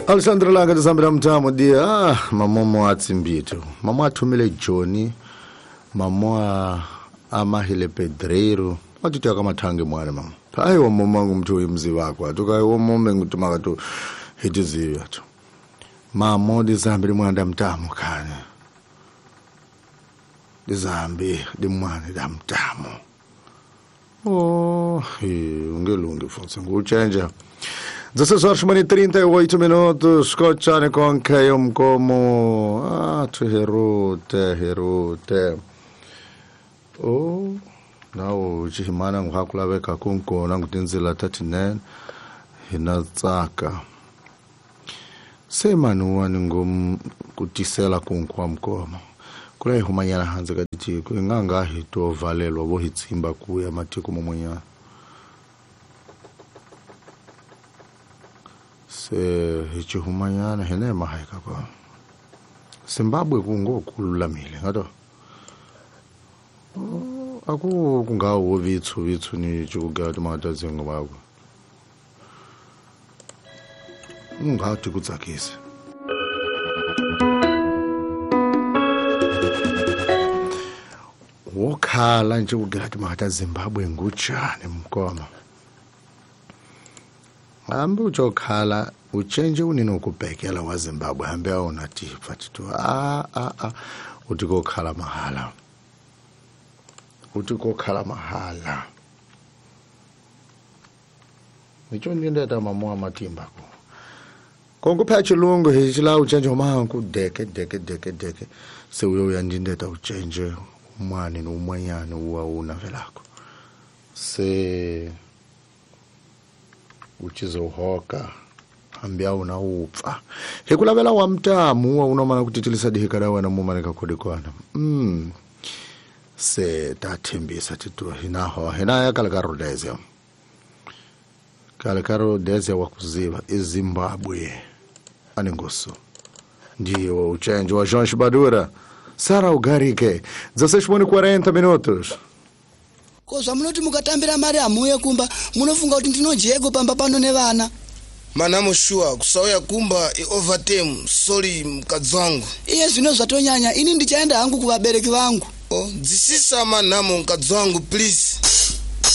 Alexandre Langa tisambira mutamo dia mamomo atsimbito mamo athumile Johnny mamo a amahile Pedreiro atiti akamathange mwana mama hayi wamoma ngumntu uyimzi wakho atukayi womome ngutumaka tu hitiziyo atu mamo dizambi limwana mtamo khanya dizambi limwana damtamo oh ungelungi futhi ngutshenja 16 horas e 38 minutos, kochane konke yomkomo tuherute herute oh nawo chihimana nguhakulaveka kunkona ngutinzila 39 hina tsaka semanuwani ngom kutisela kunkwa mkomo kula ihumanyana hanze katitiko inganga hitovalelwa vo hitsimba kuya matiko momwenyana se hichihumanyana hene mahayika kwa Zimbabwe kungokululamile ngato aku kungawo vitsu vitsu ni chikugaya timatazingo vako ungati kutsakisa wokhala nje kugaya timata Zimbabwe nguchane mkoma hambi uchokhala uchenje uninokubhekela wa Zimbabwe hambi awona tipfa titu a uti kokhala mahala uti kokhala mahala nicho ndindeta mamoa matimba ko kongo chilungu hichila uchenje manku deke deke deke deke se uyo uyandindeta uchenje umwani nomwanyana uwa unavelako se uchizohoka ambia una upfa hikulavela wa mtamu wa unomana kutitilisa dihikada wena mumane kakhudikwana se tathembisa titu hinaho hinaya kala ka Rhodesia wakuziva eZimbabwe aningoso ndiwo uchenje wa João Chibadura Sara Ugarike 16:40 minutos. Ko zvamunoti mukatambira mari hamuuye kumba munofunga kuti ndinojeko pamba pano nevana manamo shuwa kusauya kumba iovertime sorry mukadzi wangu iye zvino zvatonyanya ini ndichaenda hangu kuvabereki vangu oh, dzisisa manamo mukadzi wangu please.